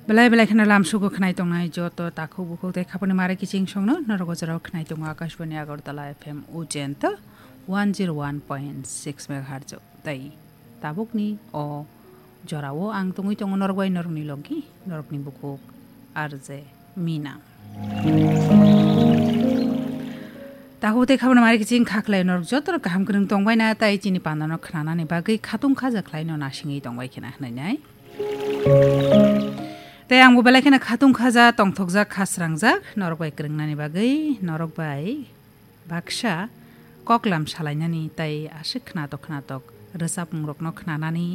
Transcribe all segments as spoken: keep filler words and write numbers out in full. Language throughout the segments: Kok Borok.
Belai belai kheno lam sugo khnai tongnai joto takhuk bukhuk tei khaponi mare kiching songno norok o jorao khnai tongo Akashbani Agartala F M Ujenta one zero one point six megahertz o. Tei tabukni o jorao ang tongwi tongo norok bai norokni logi, norokni bukhuk R J Mina. Takhuk tei khaponi mare kiching kha khlai norok jotono kaham kwrwng tongbaina tei chini pandano khnanani bagwi khatung khaja khlaino nasingwi tongbai khena hwnwi nai. Tei ang bo belai kheno khatung khaja tongthokjak kha srangjak norok bai kwrwngnani bagwi norok bai baksa koklam salainani tei aswk khnatok khnatok rwchapmungrokno khnanani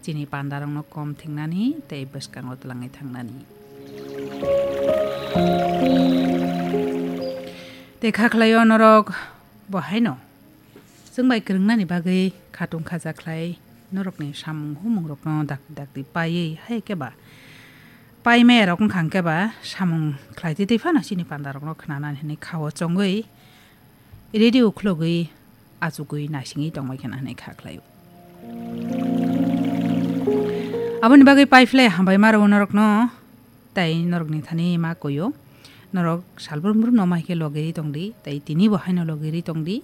chini pandarokno kom thingnani tei bwskango twlangwi thangnani. Tei kha khlaio norok bo haino chwng bai kwrwngnani bagwi khatung khaja khlai norokni samung humungrokno dakti dakti paiwi hai khe ba paimaya rok wngkha hwnkhe ba samung khlai twi twi phano chini pandarokno khnanani hwnwi khao chongwi radio khulogwi achugwi naisingwi tongbai khena hwnwi kha khlaio. Aboni bagwi paiphlai hambai ma rwo norokno. Tei norokni thani ma koyo. Norok salbrum brum no ma hai khe logiri tongdi, tei tini bo haino logiri tongdi.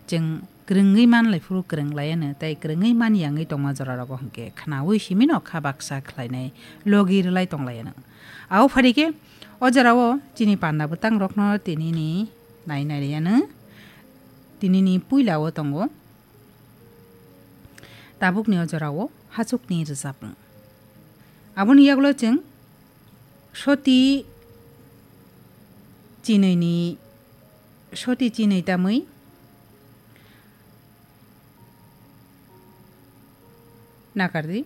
Chwng kwrwngwi man lai phuru kwrwng laiano, tei kwrwngwi man yangwi tongma jora rogo hwnkhe khnaui simi no kha baksa khlainai logi rwlai tong laiano. Abo phari khe o jorao chini panda bwtang rokno tinini nai nai riyano, tinini puila o tongo. Tabukni o jorao hachukni rwchapmung. Aboni yagulo chwng soti chinwi ni, soti chinwi tamwi nakardi.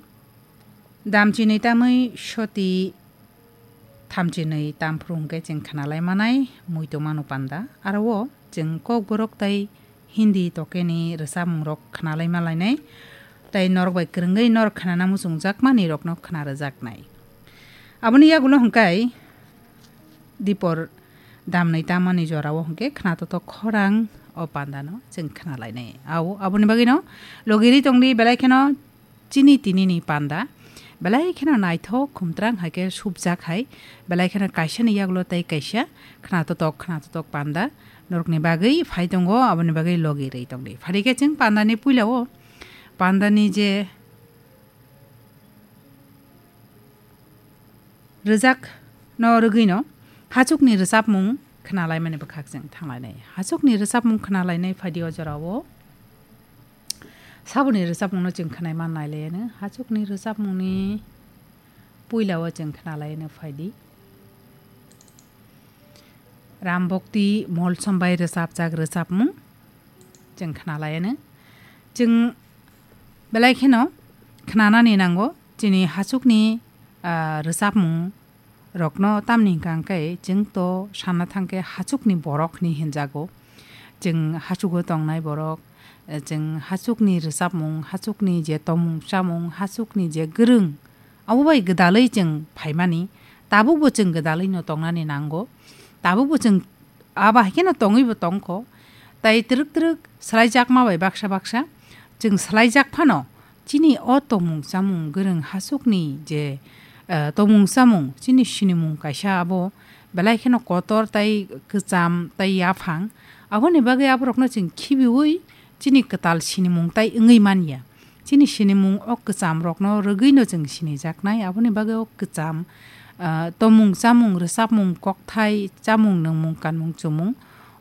Dam chinwi tamwi soti thamchinwi tamphru hwnkhe chwng khnalai manai muitu manu panda. Aro o chwng kokborok tei Hindi tokeni rwchapmungrok khnalai malainai, tei norok bai kwrwngwi norok khnana muchungjakmani rokno khna rwjaknai. Aboni yagulo hwnkhe dipor damnwi tamani jorao hwnkhe khna totok khorang o pandano chwng khnalainai. Au, aboni bagwino logiri tongdi belai kheno chini tinini panda belai kheno naithok khumtrang hai khe subjak hai, belai kheno kaisani yagulo tei kaisa khna totok, khna totok panda norokni bagwi phai tongo, aboni bagwi logi rwi tongdi. Phari khe chwng pandani puila o pandani je rwjak no rwgwino hachukni rwchapmung khnalaimani bwkhak chwng thanglainai. Hachukni rwchapmung khnalainai phaidi o jorao saboni rwchapmungno chwng khnai man nailaiyano. Hachukni rwchapmungni puilao chwng khnalaiyano phaidi. Ram Bhakti Molsom bai rwchapjak rwchapmung chwng khnalaiyano. Chwng belai kheno khnanani nango chini hachukni, ah, rwchapmung rokno, tamni hwnkha hwnkhe chwng to sana thangkhe hachukni borok hwnwi hinjago. Chwng hachugo tongnai borok, eh, chwng hachukni rwchapmung, hachukni je tongmung chamung, hachukni je gwrwng, abo bai gwdalwi chwng phaimani, tabukbo chwng gwdalwino tongnani nango. Tabukbo chwng abo hai kheno tongwibo tongkho. Tai twrwk twrwk swlaijakma bai baksa baksa chwng swlaijak phano chini o tongmung chamung gwrwng hachukni je, eh, tongmung chamung chini sinimung kaisa abo belai kheno kotor tai kwcham tai yaphang. Aboni bagwi aborokno chwng khibiui chini kwtal sinimung tai wngwi manya. Chini sinimung o kwcham rokno rwgwino chwng sinijaknai, aboni bagwi o kwcham, ah, tongmung chamung, rwchapmung, kokthai, chamung, nwngmung, kanmung, chumung,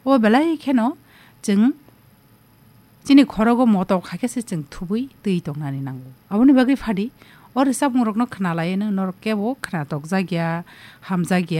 o belai kheno chwng chini khorogo motok hai khe se chwng thubui twi tongnani nango. Aboni bagwi phadi o rwchapmung rokno khna laiano norok kebo khna tokjak ya, hamjak ya.